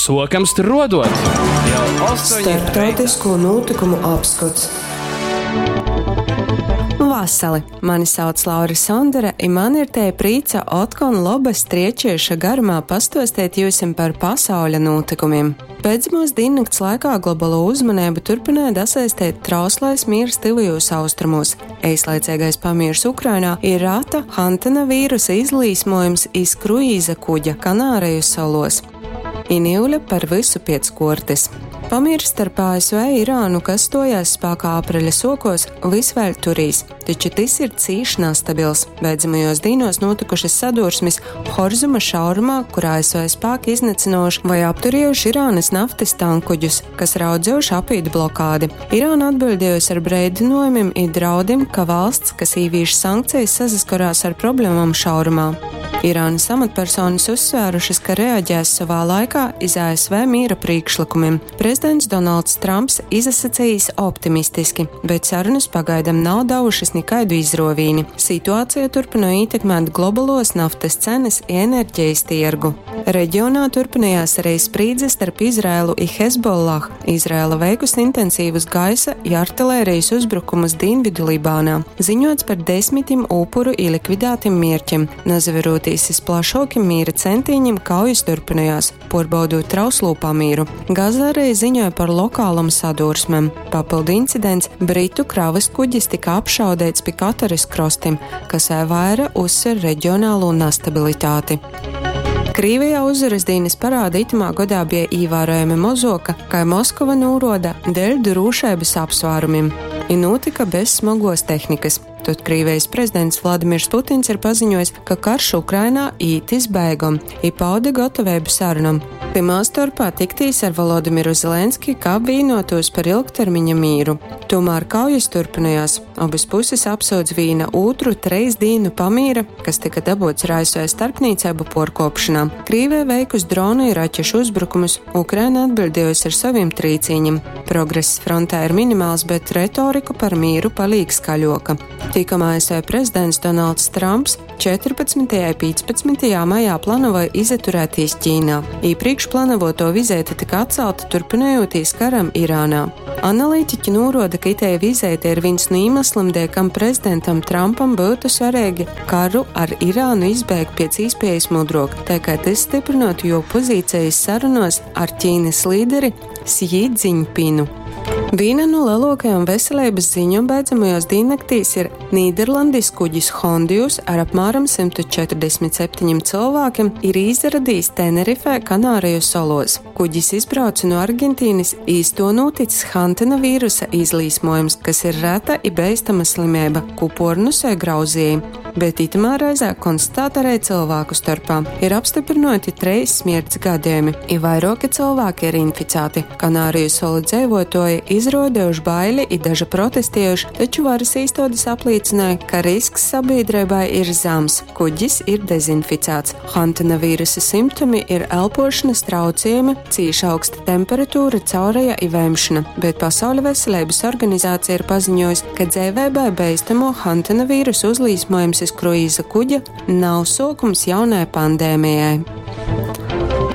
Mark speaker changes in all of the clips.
Speaker 1: Sokam struodot! Jau 8 reitā.
Speaker 2: Starptautisko nūtykumu apskots.
Speaker 3: Vasali! Mani sauc Laura Sondere, i man ir tei prīca otkon lobys striečieša garumā pastuosteit jiusim par pasauļa nūtykumim. Beidzamūs dīnnakts laikā globalū uzmaneibu turpynoj dasaisteit trauslais mīrs Tyvajūs Austrumūs, eislaiceigais pamīrs Ukrainā i rata Hantana vīrusa izlīsmuojums iz kruīza kuģa Kanāreju soluos. I niule par vysu piec kuortys. Pamīrs starp ASV i Irānu, kas stuojās spākā apreļa suokuos, vys vēļ turīs, taču tys ir cīš nastabils. Beidzamajuos dīnuos nūtykušys sadursmis Horzuma šaurumā, kur ASV spāki iznycynuojuši voi apturiejuši Irānys naftys tankkuģus, kas raudzejuši apīt blokādi. Irāna atbiļdiejusi ar breidynuojumim i draudim, ka valsts, kas īvīš sankcejis, sasaskorās ar problemom šaurumā. Irānys amatpersonys uzsvērušys, ka reaģēs sovā laikā iz ASV mīra prīšklykumim. Prezidents Donalds Tramps izasacejīs optimistiski, bet sarunys pagaidam nav davušys nikaidu izruovīni. Situaceja turpynoj ītekmēt globaluos naftys cenys i energejis tiergu. Regionā turpynojās ari sprīdze starp Izraelu i Hezbollah. Izraela veikusi intensīvus gaisa i artilērijas uzbrukumus dīnvidu Libānā. Ziņuots par desmitim upuru i likvidātim mierķim. Nasaverūtīs iz plašuokim mīra centīņim, kaujis turpynojās, puorbaudūt trauslū pamīru. Gaza ari ziņoj par lokalom sadūrsmem. Papyldu incidents, britu kravys kuģis tika apšaudeits pi Katarys krostim, kas vēļ vaira uzsver regionalū nastabilitāti. Krīvejā Uzvarys dīnys parāde itymā godā bie īvārojami mozuoka, kai Moskova nūruoda, deļ drūšeibys apsvārumim, i nūtyka bez smoguos tehnikys. Tod Krīvejis prezidents Vladimirs Putins ir paziņuojs, ka karš Ukrainā īt iz beigom, i paude gotaveibu sarunom, tymā storpā tiktīs ar Volodimiru Zelenski, kab vīnuotūs par ilgtermiņa mīru. Tūmār kaujis turpynojās. Obys pusis apsyudz vīna ūtru treis dīnu pamīra, kas tyka dabuots ar ASV starpnīceibu, puorkuopšonā. Krīveja veikus dronu i raķešu uzbrukumus, Ukraina atbiļdiejusi ar sovim trīcīņim. Progress frontē ir minimals, bet retorika par mīru palīk skaļuoka. Tikom ASV prezidents Donalds Tramps 14. i 15. majā planavoj izaturētīs Ķīnā. Īprīkš planavuotuo vizeite tyka atcalta, turpynojūtīs karam Irānā. Analitiķi nūruoda, ka itei vizeite ir vīns nu īmeslim, deļ kam prezidentam Trampam byutu svareigi karu ar Irānu izbeigt piec īspiejis mudruok, tai kai tys styprynuotu juo pozīcejis sarunuos ar Ķīnys līderi Sji Dziņpinu. Vīna nu leluokajom veseleibys ziņom beidzamajuos dīnnaktīs ir Nīderlandis kuģis Hondius ar apmāram 147 cylvākim ir īsaradīs Tenerifē, Kanāreju soluos. Kuģis izbrauce nu Argentīnys, i iz tuo nūtics Hantena vīrusa izlīsmuojums, kas ir reta i beistama slimeiba, kū puornosoj grauzieji. Bet itymā reizē konstatāta ari cylvāku storpā. Ir apstyprynuoti treis smierts gadejumi, i vairuoki cylvāki ir inficāti. Kanāriju solu dzeivuotuoji izruodejuši baili i daže protestiejuši, taču varys īstuodis aplīcynoj, ka risks sabīdreibai ir zams, kuģis ir dezinficāts. Hantena vīrusa simptomi ir elpošanas trauciejumi, cīši augsta temperatūra, caureja i vemšona, bet Pasauļa veseleibys organizācija ir paziņojusi, ka dzeiveibai beistamo Hantena vīrusa uzlīsmojums iz kruīza kuģa nav suokums jaunai pandēmijai.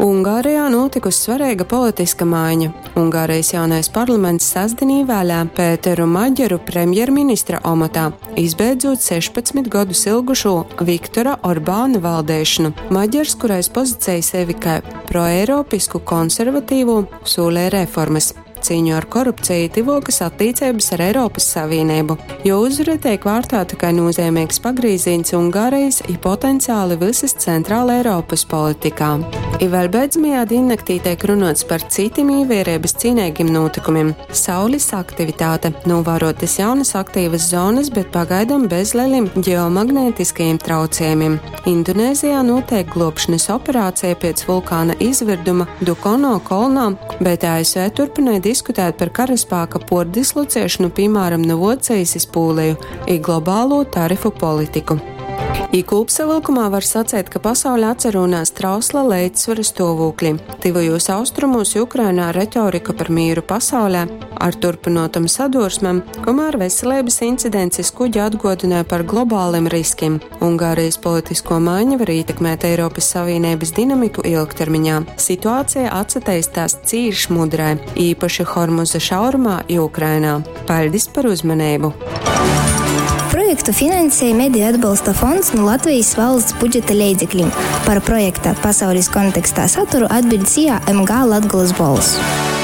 Speaker 3: Ungārijā nūtikusi svareiga politiska maiņa. Ungārijas jaunais parlaments sastdin īvēlē Pēteru Maģeru premjerministra omotā, izbeidzūt 16 godus ilgušū Viktora Orbāna valdeišonu. Maģers, kurais pozicej sevi kai proeiropisku konservatīvū, sūlē reformys, cīņu ar korupciju i tyvuokys attīceibys ar Eiropys Savīneibu. Juo uzvara teik vārtāta kai nūzeimeigs pagrīzīņs Ungārejis i potenciali vysys Centraleiropys politikā. I vēļ beidzamajā dīnnaktī teik runuots par cytim īviereibys cīneigim nūtykumim. Saulis aktivitāte. Nūvāruotys jaunys aktīvys zonys, bet pagaidom bez lelim ģeomagnētiskajim trauciejumim. Indonēzijā nūteik gluobšonys operāceja piec vulkāna izvyrduma Dukono kolnā, bet ASV turpynoj diskutēt par karaspāka puordislociešonu, pīmāram, nu Vuocejis iz Pūleju, i globalū tarifu politiku. I kūpsavylkumā var saceit, ka pasaule atsarūnās trausla leidzsvara stuovūklī. Tyvajūs austrumūs i Ukrainā retorika par mīru pasaulē ar turpynuotom sadursmem, kamēr veselības incidents iz kuģa atguodynoj par globālim riskim. Ungārijas politiskuo maiņa var ītekmēt Eiropys Savīneibys dinamiku ilgtermiņā. Situācija atsateistās cīš mudrai, īpaši Hormuza šaurumā i Ukrainā. Paļdis par uzmaneibu!
Speaker 4: Projektu finansēja Mediju atbalsta fonds nu Latvijas valsts budžeta leidzeklim. Par projekta Pasaules kontekstā saturu atbiļd SIA MG Latgolas Bolss.